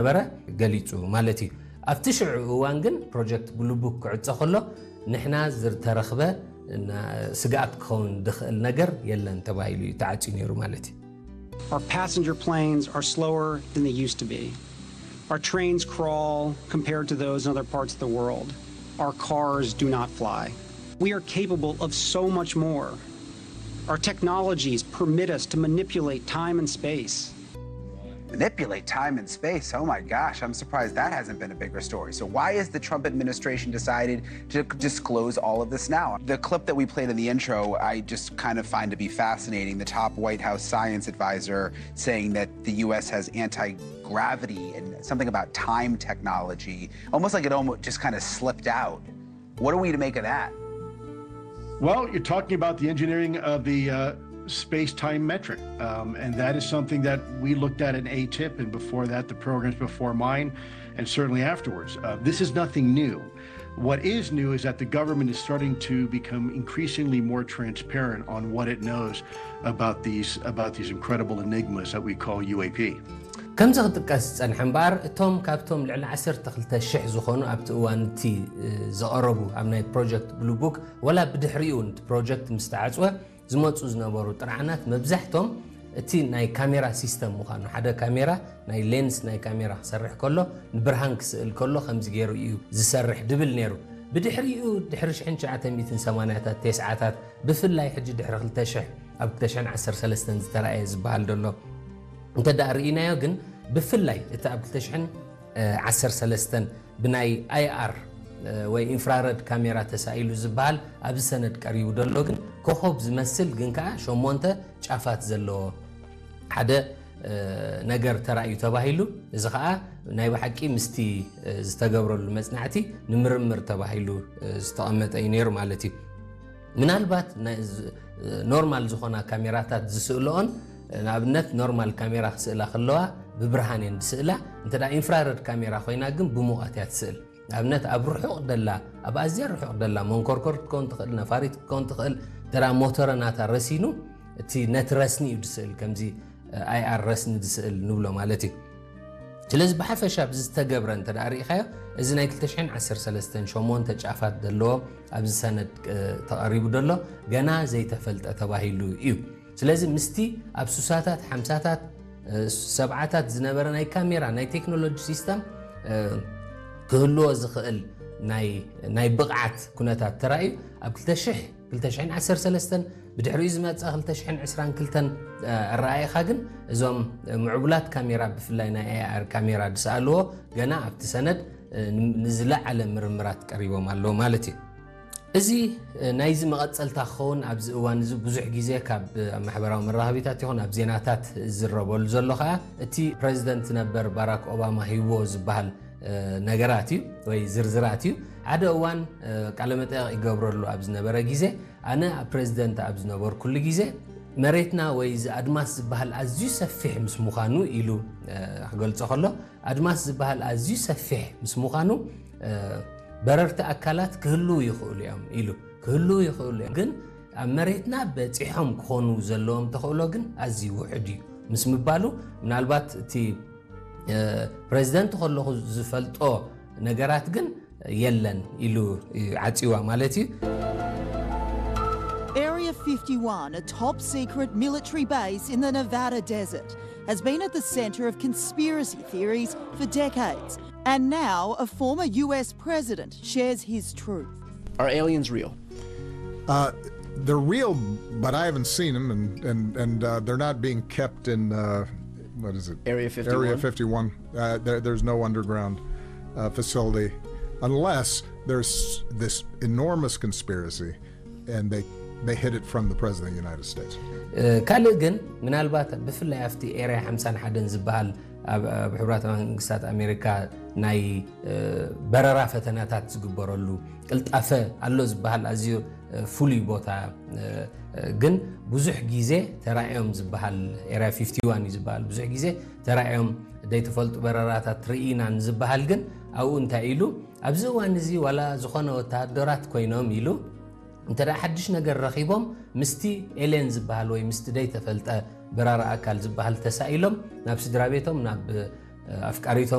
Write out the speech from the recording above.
ነበረ ገሊጹ ማለት እዩ። ኣብቲ ሽዑ እዋን ግን ፕሮጀክት ብሉ ቡክ ክዕጾ ከሎ ንሕና ዝተረኽበ እና ስግኣት ክኸውን ዝኽእል ነገር የለን ተባሂሉ እዩ ተዓጽዩ ነይሩ ማለት እዩ። Our passenger planes are slower than they used to be. Our trains crawl compared to those in other parts of the world. Our cars do not fly. We are capable of so much more. Our technologies permit us to manipulate time and space. Manipulate time and space. Oh my gosh, I'm surprised that hasn't been a bigger story. So, why is the Trump administration decided to disclose all of this now? The clip that we played in the intro, I just kind of find to be fascinating. The top White House science advisor saying that the U S has anti gravity and something about time technology, almost like it almost just kind of slipped out. What are we to make of that? Well, you're talking about the engineering of the uh, space time metric. Um, and that is something that we looked at in AATIP and before that, the programs before mine, and certainly afterwards. Uh, this is nothing new. What is new is that the government is starting to become increasingly more transparent on what it knows about these about these incredible enigmas that we call U A P. ከምዚ ክጥቀስ ዝጸንሐ እምበኣር፣ እቶም ካብቶም ልዕሊ ዓሰርተ ክልተ ሽሕ ዝኾኑ ኣብቲ እዋን እቲ ዝቐረቡ ኣብ ናይ ፕሮጀክት ብሉ ቡክ፣ ወላ ብድሕሪኡ እቲ ፕሮጀክት ምስ ተዓጽወ ዝመጹ ዝነበሩ ጥርዓናት፣ መብዛሕቶም እቲ ናይ ካሜራ ሲስተም ምዃኑ፣ ሓደ ካሜራ ናይ ሌንስ ናይ ካሜራ ክሰርሕ ከሎ፣ ንብርሃን ክስእል ከሎ ከምዚ ገይሩ እዩ ዝሰርሕ ድብል ነይሩ። ብድሕሪኡ ድሕሪ ሽሕን ትሽዓተ ሚእትን ሰማንያታት፣ ተስዓታት፣ ብፍላይ ሕጂ ድሕሪ ክልተ ሽሕ፣ ኣብ ክልተ ሽሕን ዓሰርተ ሰለስተን ዝተራእየ ዝበሃል ዘሎ እንተ ደኣ ርኢናዮ ግን፣ ብፍላይ እቲ ኣብ ክልተ ሽሕን ዓሰርተ ሰለስተን ብናይ ኣይ ኣር ወይ ኢንፍራረድ ካሜራ ተሳኢሉ ዝበሃል ኣብዚ ሰነድ ቀሪቡ ዘሎ ግን፣ ኮኾብ ዝመስል ግን ከኣ ሸሞንተ ጫፋት ዘለዎ ሓደ ነገር ተራእዩ ተባሂሉ። እዚ ከኣ ናይ ብሓቂ ምስቲ ዝተገብረሉ መጽናዕቲ ንምርምር ተባሂሉ ዝተቐመጠ እዩ ነይሩ ማለት እዩ። ምናልባት ናይ ዝ-፣ ኖርማል ዝኾና ካሜራታት ዝስእልኦን፣ ንኣብነት ኖርማል ካሜራ ክስእላ ከለዋ ብብርሃን እየን ዝስእላ። እንተ ደኣ ኢንፍራረድ ካሜራ ኮይና ግን ብሙቐት እያ ትስእል። ንኣብነት ኣብ ርሑቕ ደላ፣ ኣብ ኣዝያ ርሑቕ ደላ መንኮርኮር ክትከውን ትኽእል፣ ነፋሪት ክትከውን ትኽእል፣ እንተ ደኣ ሞተረ ናታ ረሲኑ፣ እቲ ነቲ ረስኒ እዩ ዝስእል፣ ከምዚ ኣይ ኣር ረስኒ ዝስእል ንብሎ ማለት እዩ። ስለዚ ብሓፈሻ ኣብዚ ዝተገብረ እንተ ደኣ ርኢኻዮ፣ እዚ ናይ ክልተ ሽሕን ዓሰርተ ሰለስተን ሸሞንተ ጫፋት ዘለዎ ኣብዚ ሰነድ ተቐሪቡ ዘሎ ገና ዘይተፈልጠ ተባሂሉ እዩ። ስለዚ ምስቲ ኣብ ሱሳታት፣ ሓምሳታት፣ ሰብዓታት ዝነበረ ናይ ካሜራ ናይ ቴክኖሎጂ ሲስተም ክህልዎ ዝኽእል ናይ፣ ናይ ብቕዓት ኩነታት ተራእዩ ኣብ ክልተ ሽሕ፣ ክልተ ሽሕን ዓሰርተ ሰለስተን ብድሕሪኡ ዝመጸ ክልተ ሽሕን ዕስራን ክልተን ኣረኣኢኻ ግን እዞም ምዕቡላት ካሜራ ብፍላይ ናይ ኣይ ኣር ካሜራ ዝሰኣልዎ ገና ኣብቲ ሰነድ ንዝለዓለ ምርምራት ቀሪቦም ኣለዉ ማለት እዩ። እዚ ናይዚ መቐጸልታ ክኸውን ኣብዚ እዋን እዚ ብዙሕ ግዜ ካብ ኣብ ማሕበራዊ መራኸቢታት ይኹን ኣብ ዜናታት ዝዝረበሉ ዘሎ ከኣ እቲ ፕረዚደንት ነበር ባራክ ኦባማ ሂብዎ ዝበሃል ነገራት እዩ ወይ ዝርዝራት እዩ። ሓደ እዋን ቃለመጠየቕ ይገብረሉ ኣብ ዝነበረ ግዜ ኣነ ኣብ ፕረዚደንት ኣብ ዝነበርኩሉ ግዜ መሬትና ወይ እዚ ኣድማስ ዝበሃል ኣዝዩ ሰፊሕ ምስ ምዃኑ ኢሉ ክገልጾ ከሎ ኣድማስ ዝበሃል ኣዝዩ ሰፊሕ ምስ ምዃኑ በረርቲ ኣካላት ክህልዉ ይኽእሉ እዮም ኢሉ። ክህልዉ ይኽእሉ እዮም ግን ኣብ መሬትና በጺሖም ክኾኑ ዘለዎም ተኽእሎ ግን ኣዝዩ ውሑድ እዩ ምስ ምባሉ ምናልባት እቲ ፕረዚደንት ከለኹ ዝፈልጦ ነገራት ግን የለን ኢሉ ዓጺዋ ማለት እዩ። Area fifty-one, a top secret military base in the Nevada desert, has been at the center of conspiracy theories for decades. And now a former U S president shares his truth. Are aliens real? Uh, they're real, but I haven't seen them, and and and uh, they're not being kept in uh, what is it? Area fifty-one. Area fifty-one. Uh, there, there's no underground uh, facility, unless there's this enormous conspiracy, and they they hid it from the president of the United States. ካልእ ግን ምናልባት ብፍላይ ኣብቲ ኤርያ ሓምሳን ሓደን ዝበሃል ኣብ ኣብ ሕቡራት መንግስታት ኣሜሪካ ናይ በረራ ፈተናታት ዝግበረሉ ቅልጣፈ ኣሎ ዝበሃል ኣዝዩ ፍሉይ ቦታ ግን ብዙሕ ግዜ ተራእዮም ዝበሃል ኤርያ ፊፍቲ ዋን እዩ ዝበሃል ብዙሕ ግዜ ተራእዮም ዘይተፈልጡ በረራታት ርኢና ንዝበሃል ግን ኣብኡ እንታይ ኢሉ ኣብዚ እዋን እዚ ዋላ ዝኾነ ወተሃደራት ኮይኖም ኢሉ እንተ ሓድሽ ነገር ረኺቦም ምስቲ ኤሌን ዝበሃል ወይ ምስቲ ዘይተፈልጠ በራሪ ኣካል ዝበሃል ተሳኢሎም ናብ ስድራ ቤቶም ናብ ኣፍቃሪቶም